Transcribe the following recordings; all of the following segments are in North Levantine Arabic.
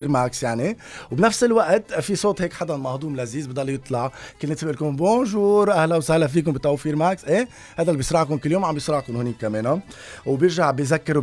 ماكس يعني. وبنفس الوقت في صوت هيك حدا مهضوم لذيذ بضل يطلع كل الناس بيقول لكم بونجور اهلا وسهلا فيكم بتوفير ماكس. ايه هذا اللي بيسرعكم كل يوم عم بيسرعكم هونيك كمان. وبيرجع بيذكر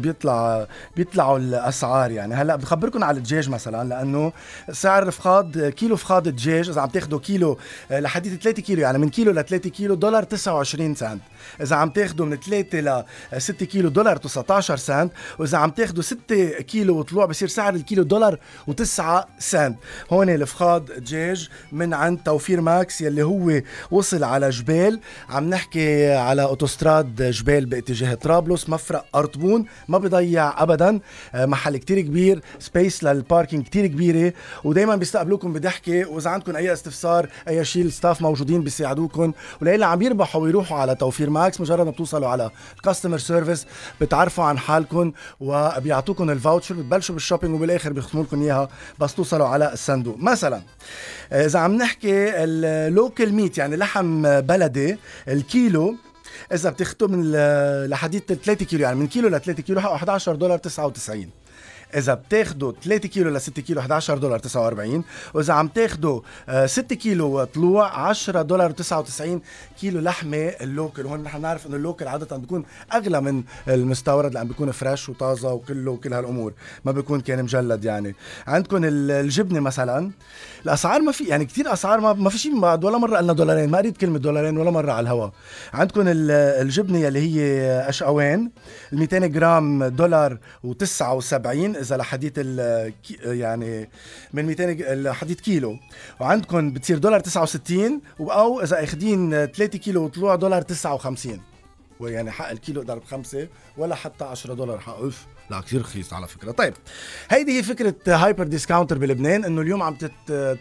بيطلعوا الاسعار. يعني هلا بخبركم على الدجاج مثلا، لانه سعر فخاد كيلو فخاد الدجاج اذا عم تاخذوا كيلو لحديت 3 كيلو، يعني من كيلو ل 3 كيلو دولار 29 سنت. اذا عم تاخذوا من 3 ل 6 كيلو دولار 19 سنت. واذا عم تاخذوا 6 كيلو وطلوع بصير سعر الكيلو دولار و9 سنت. هون الفخاد دجاج من عند توفير ماكس يلي هو وصل على جبال. عم نحكي على اوتوستراد جبال باتجاه طرابلس، مفرق أرطبون. ما بيضيع ابدا، محل كتير كبير، سبيس للباركينج كتير كبيرة، ودايما بيستقبلوكم بضحكة. واذا عندكم اي استفسار اي شيء الستاف موجودين بيساعدوكم. وليلة عم يربحوا ويروحوا على توفير ماكس مجرد ما بتوصلوا على الكاستمر سيرفيس بتعرفوا عن حالكم وبيعطوكم الفاوتشر، بتبلشوا بالشوبينج وبالاخر بيختموا لكم اياها بس توصلوا على الصندوق. مثلا اذا عم نحكي اللوكل ميت يعني لحم بلدي، الكيلو اذا بتاخذوا من لحديد 3 كيلو، يعني من كيلو ل 3 كيلو حقه 11 دولار 99. إذا بتاخدوا 3 كيلو ل 6 كيلو 11 دولار 49. وإذا عم تاخدوا 6 كيلو طلوع 10 دولار 99 كيلو لحمة اللوكل. وهون نحن نعرف إنه اللوكل عادة بيكون أغلى من المستورد لأن بيكون فريش وطازة وكل هالأمور، ما بيكون كان مجلد. يعني عندكم الجبنة مثلا، الأسعار ما في يعني كتير أسعار ما في شيء بعد ولا مرة قلنا دولارين، ما قريت كلمة دولارين ولا مرة على الهواء. عندكم الجبنة يلي هي أشقوان 200 جرام دولار و79 إذا لحديت يعني من 200 لحديت كيلو. وعندكم بتصير دولار 69، أو إذا أخدين 3 كيلو وطلوع دولار 59. ويعني حق الكيلو ضرب 5 ولا حتى 10 دولار حق لا كثير رخيص على فكرة. طيب هيدي هي فكرة هايبر ديسكاونتر بلبنان، انه اليوم عم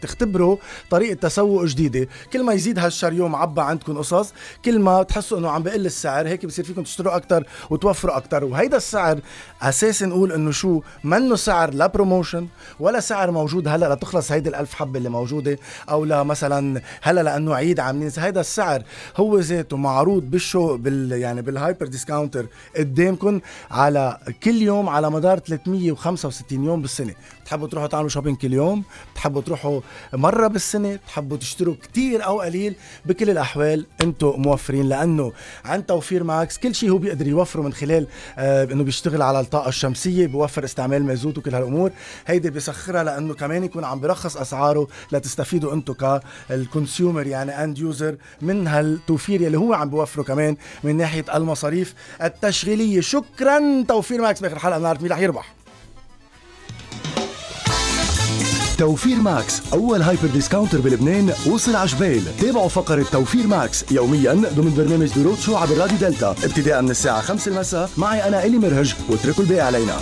تختبروا طريقة تسوق جديدة. كل ما يزيد هالشريو معبى عندكم قصص، كل ما تحسوا انه عم بقل السعر هيك بصير فيكم تشتروا اكتر وتوفروا اكتر. وهيدا السعر اساسا نقول انه شو منه سعر لا بروموشن ولا سعر موجود هلا لتخلص هيدي ال1000 حبة اللي موجودة، او لا مثلا هلا لانه عيد عاملين. هيدا السعر هو ذاته معروض يعني بالهايبر ديسكاونتر قدامكم على كل يوم على مدار 365 يوم بالسنة. بتحبوا تروحوا تعملوا شوبينج كل يوم، بتحبوا تروحوا مرة بالسنة، بتحبوا تشتروا كتير أو قليل، بكل الأحوال أنتوا موفرين. لأنه عن توفير ماكس كل شيء هو بيقدر يوفره من خلال أنه بيشتغل على الطاقة الشمسية، بيوفر استعمال مازوت وكل هالأمور. هيدي بيسخرها لأنه كمان يكون عم برخص أسعاره لتستفيدوا أنتوا كالكونسيومر يعني أند يوزر من هالتوفير يلي هو عم بيوفره كمان من ناحية المصاريف التشغيلية. شكرا توفير ماكس. بآخر حلقة بنعرف مين رح يربح. توفير ماكس أول هايبر ديسكاونتر بلبنان وصل عجبال. تابعوا فقرة توفير ماكس يوميا ضمن برنامج دروت شو عبر راديو دلتا ابتداء من الساعة 5 المساء. معي أنا إلي مرهج واتركوا الباقي علينا.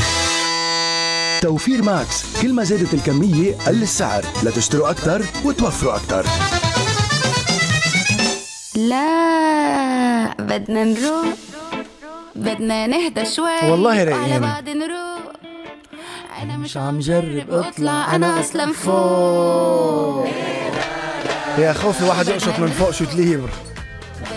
توفير ماكس، كل ما زادت الكمية قل السعر، لتشتروا أكتر وتوفروا أكتر. لا بدنا نروح، بدنا نهدى شوي والله رايقين. على بعض نروح. أنا مش عم جرب اطلع، أنا أصلا فوق. يا خوفي واحد يقشط من فوق شو تليبر.